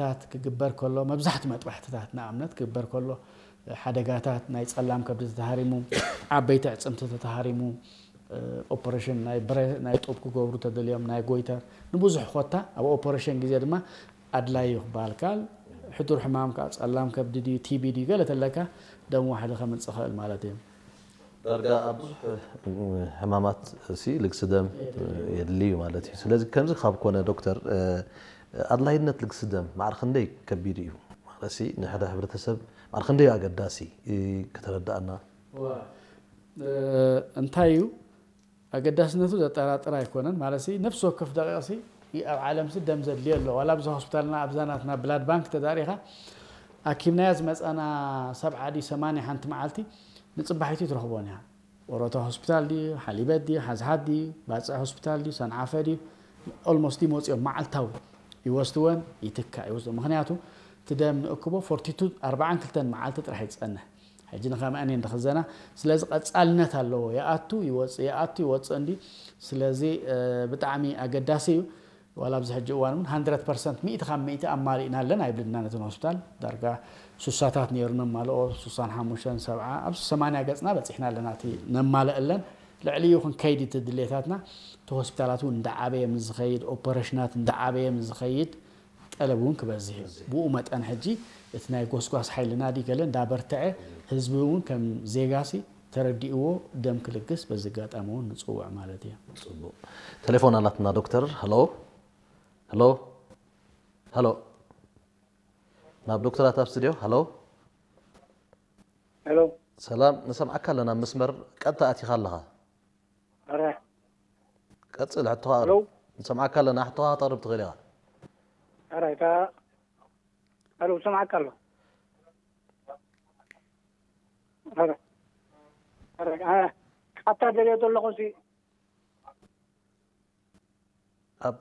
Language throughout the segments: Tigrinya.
መጥባሕትታት ክግበር ከሎ፣ መብዛሕትኡ መጥባሕትታት ንኣብነት ክግበር ከሎ፣ ሓደጋታት ናይ ጸላም ከብዲ ተተሃሪሙ፣ ዓበይቲ ኣዕጽምቲ ተተሃሪሙ፣ ኦፐሬሽን ናይ ብረ ናይ ጡብ ክገብሩ ተደልዮም፣ ናይ ጎይተር፣ ንብዙሕ ኮታ ኣብ ኦፐሬሽን ግዜ ድማ ኣድላይ እዩ ክበሃል ከኣል። ሕዱር ሕማም ከኣ ጸላም ከብዲ ድዩ ቲቢ ድዩ ገለ ተለካ ደም ዋሕዲ ከምጽእ ኽእል ማለት እዩ። ዳርጋ ኣብ ብዙሕ ሕማማት ሲ ልግሲ ደም የድሊ እዩ ማለት እዩ። ስለዚ ከምዚ ካብ ኮነ ዶክተር፣ ኣድላይነት ልግሲ ደም ማዕረ ክንደይ ከቢድ እዩ ማለት ሲ ንሕደ ሕብረተሰብ ማዕረ ክንደይ ኣገዳሲ ክተረዳእና? እንታይ እዩ ኣገዳስነቱ ዘጠራጥር ኣይኮነን። ማለት ሲ ነፍሲ ወከፍ ደቂቕ ሲ ኣብ ዓለም ሲ ደም ዘድልዮ ኣሎ። ዋላ ኣብዛ ሆስፒታልና ኣብዛ ናትና ብላድ ባንክ ተዳሪኻ ኣኪብናያ ዝመፃና ሰብዓ ድዩ ሰማንያ ሓንቲ መዓልቲ ንፅባሒቱ ትረኽቦን እያ። ወሮታ ሆስፒታል ድዩ ሓሊበት ድዩ ሓዝሓት ድዩ ባፅዕ ሆስፒታል ድዩ ሰንዓፈ ድዩ ኦልሞስት ይመፅኦም መዓልታዊ ይወስድወን ይትካእ ይወስድዎ። ምክንያቱ እቲ ደም ንእክቦ ፎርቲቱ ኣርባዓን ክልተን መዓልቲ ጥራሕ ይፀንሕ። ሕጂ ንኸምአን እየን ዝኽዘና። ስለዚ ቀፃልነት ኣለዎ። ይኣቱ ይወፅእ ይኣቱ ይወፅእ እንዲ። ስለዚ ብጣዕሚ ኣገዳሲ እዩ። ዋላ ኣብዚ ሕጂ እዋን እውን ሃንድረድ ፐርሰንት ሚእቲ ካብ ሚእቲ ኣማሊእናለን ኣይብልናን። ነተን ሆስፒታል ዳርጋ ሱሳታት ነይሩ ነማልኦ ሱሳን ሓሙሽተን ሰብዓ ኣብ ሰማንያ ገፅና በፂሕና ኣለና እቲ ነማልአለን። ልዕሊ እዩ ክንከይድ እቲ ድሌታትና እቲ ሆስፒታላት እውን እንዳዓበየ ምስ ዝኸይድ ኦፐሬሽናት እንዳዓበየ ምስ ዝኸይድ ጠለብ እውን ክበዝሕ እዩ። ብኡ መጠን ሕጂ እቲ ናይ ጎስጓስ ሓይልና ድዩ ገለ እንዳበርትዐ ህዝቢ እውን ከም ዜጋሲ ተረዲእዎ ደም ክልግስ በዚ ኣጋጣሚ እውን ንፅውዕ ማለት እዩ። ፅቡቅ ቴሌፎን ኣላትና ዶክተር። ሀሎ ሀሎ ሀሎ ናብ ዶክተራት ኣብ ስቱዲዮ ሀሎ ሄሎ ሰላም ንሰምዓካ ኣለና መስመር ቀጥታ ኣቲኻ ኣለኻ። ኧረ ቀጽል ሕቶኻ ሄሎ ኣቕርብ። ንሰምዓካ ኣለና ሕቶኻ ክተቕርብ ትኽእል ኢኻ። ኧረ እታ ሄሎ ሰምዓካ ኣሎ። ኧረ ኧረ ኣታ ደልዮ ዘለኹ ሲ ኣብ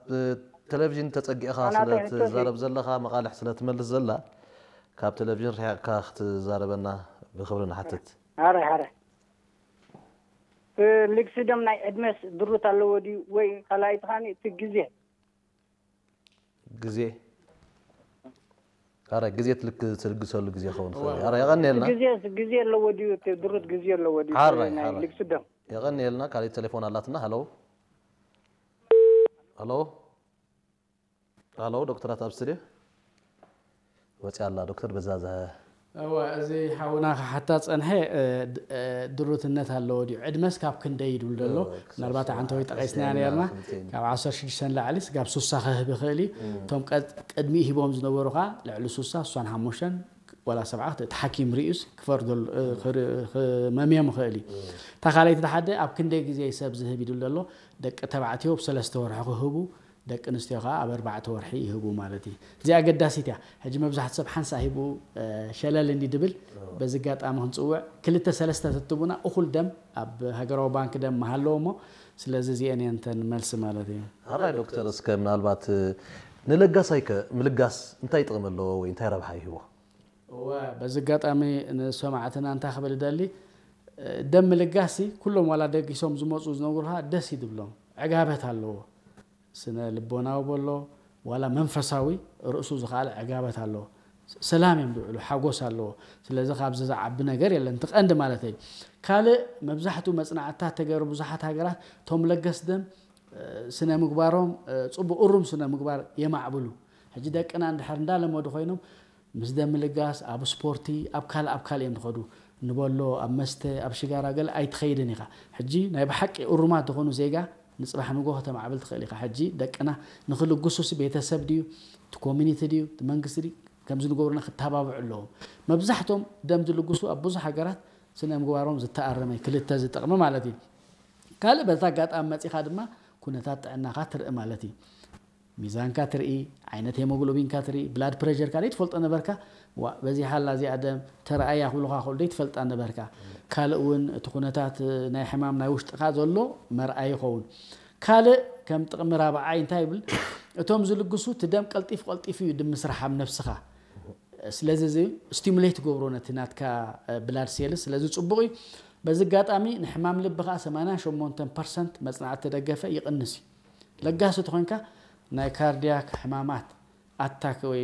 ቴሌቪዥን ተጸጊዕኻ ኣናተይ ስለ ሕቶ ሲ ትዛረብ ዘለኻ መቓልሕ ስለ ትመልስ ዘላ ካብ ቴሌቪዥን ርሒቕካ ክትዛረበና ብኽብሪ ንሓትት። ሐረ ሐረ ልግሲ ደም ናይ ዕድመስ ድሩት ኣለዎ ድዩ ወይ ካልኣይቲ ኻኒ እቲ ግዜ ግዜ ኣረ ግዜ ትልክ ትልግሰሉ ግዜ ኸውን ይኽእል እዩ። ኣረ የቐንየልና ግዜ ግዜ ኣለዎ ድዩ እቲ ድሩት ግዜ ኣለዎ ድዩ ሓራይ ናይ ሓራይ ልግሲ ደም የቐንየልና። ካልእ ቴሌፎን ኣላትና። ሃሎ ሃሎ ሃሎ ዶክተራት ኣብ ስቱድዮ ወፂኣ ኣላ ዶክተር በዛዝሐ እወ እዚ ሓውና ክሓታ ፀንሐ ድሩትነት ኣለዎ ድዩ ዕድመስ ካብ ክንደይ ይድብል ዘሎ? ምናልባት ዓንተወይ ጠቂስና ነርና ካብ ዓሰርተ ሽዱሽተ ንላዕሊ ስጋብ ሱሳ ክህብ ይኽእል እዩ። እቶም ቅድሚኡ ሂቦም ዝነበሩ ከዓ ልዕሊ ሱሳ ሱሳን ሓሙሽተን ዋላ ሰብዓ እቲ ሓኪም ሪኡስ ክፈርደሉ ክመምዮም ይኽእል እዩ። እታ ካልኣይቲ ሓደ ኣብ ክንደይ ግዜ ሰብ ዝህብ ይድል ዘሎ? ደቂ ተባዕትዮ ብሰለስተ ወርሒ ክህቡ ደቂ ኣንስትዮ ከዓ ኣብ ኣርባዕተ ወርሒ ይህቡ ማለት እዩ። እዚኣ ኣገዳሲት እያ። ሕጂ መብዛሕቲ ሰብ ሓንሳ ሂቡ ሸለል እንዲ ድብል በዚ ኣጋጣሚ ክንፅውዕ ክልተ ሰለስተ ተትቡና እኹል ደም ኣብ ሃገራዊ ባንክ ደም ምሃለዎ እሞ ስለዚ እዚአን እየን እተን መልሲ ማለት እዩ። ሓራይ ዶክተር እስከ ምናልባት ንለጋሳይ ከ ምልጋስ እንታይ ጥቕሚ ኣለዎ ወይ እንታይ ረብሓ ይህቦ? እወ በዚ ኣጋጣሚ ንሰማዕትና እንታይ ክብል እደሊ ደም ምልጋስ ኩሎም ዋላ ደጊሶም ዝመፁ ዝነግሩኻ ደስ ይድብሎም ዕጋበት ኣለዎ። ስነ ልቦናዊ በሎ ዋላ መንፈሳዊ ርእሱ ዝኸኣለ ዕጋበት ኣለዎ። ሰላም እዮም ዝውዕሉ፣ ሓጎስ ኣለዎ። ስለዚ ካብዚ ዝዓቢ ነገር የለን፣ እቲ ቀንዲ ማለት እዩ። ካልእ መብዛሕትኡ መጽናዕትታት ተገይሩ ብዙሓት ሃገራት እቶም ለገስ ደም ስነ ምግባሮም ጽቡቕ እሩም ስነ ምግባር የማዕብሉ። ሕጂ ደቅና እንድሕር እንዳለመዱ ኮይኖም ምስ ደም ምልጋስ ኣብ ስፖርቲ ኣብ ካልእ ኣብ ካልእ እዮም ዝኸዱ። ንበሎ ኣብ መስተ ኣብ ሽጋራ ገለ ኣይትኸይድን ኢኻ። ሕጂ ናይ ብሓቂ እሩማት ዝኾኑ ዜጋ ንፅባሕ ንጎ ከተማዕብል ትኽእል ኢኻ። ሕጂ ደቅና ንክልግሱሲ ቤተሰብ ድዩ እቲ ኮሚኒቲ ድዩ እቲ መንግስቲ ድዩ ከምዚ ንገብሩና ክተባብዑ ኣለዎም። መብዛሕቶም ደም ዝልግሱ ኣብ ብዙሕ ሃገራት ስነ ምግባሮም ዝተኣረመ ክልተ ዝጠቕሚ ማለት እዩ። ካልእ በዛ ኣጋጣሚ መፂኻ ድማ ኩነታት ጥዕናኻ ትርኢ ማለት እዩ። ሚዛንካ ትርኢ፣ ዓይነት ሄሞግሎቢንካ ትርኢ፣ ብላድ ፕሬሸርካ ዘይትፈልጦ ነበርካ። ዋ በዚሓ ኣላ እዚኣ ደም ተረኣያ ክብሉኻ ከሉ ዘይትፈልጣ ነበርካ። ካልእ እውን እቲ ኩነታት ናይ ሕማም ናይ ውሽጥኻ ዘሎ መርኣይ ይኸውን። ካልእ ከም ጥቕሚ ራብዓይ እንታይ ይብል? እቶም ዝልግሱ እቲ ደም ቀልጢፍ ቀልጢፍ እዩ ድምስራሕ ኣብ ነብስኻ። ስለዚ እዚ ስቲሙሌት ገብሮ ነቲ ናትካ ብላድ ሴልስ ስለዚ ፅቡቕ እዩ። በዚ ኣጋጣሚ ንሕማም ልቢ ከዓ ሰማንያ ሸሞንተ ፐርሰንት መፅናዕቲ ተደገፈ ይቕንስ እዩ። ለጋሲ ተኾንካ ናይ ካርዲያክ ሕማማት ኣታክ ወይ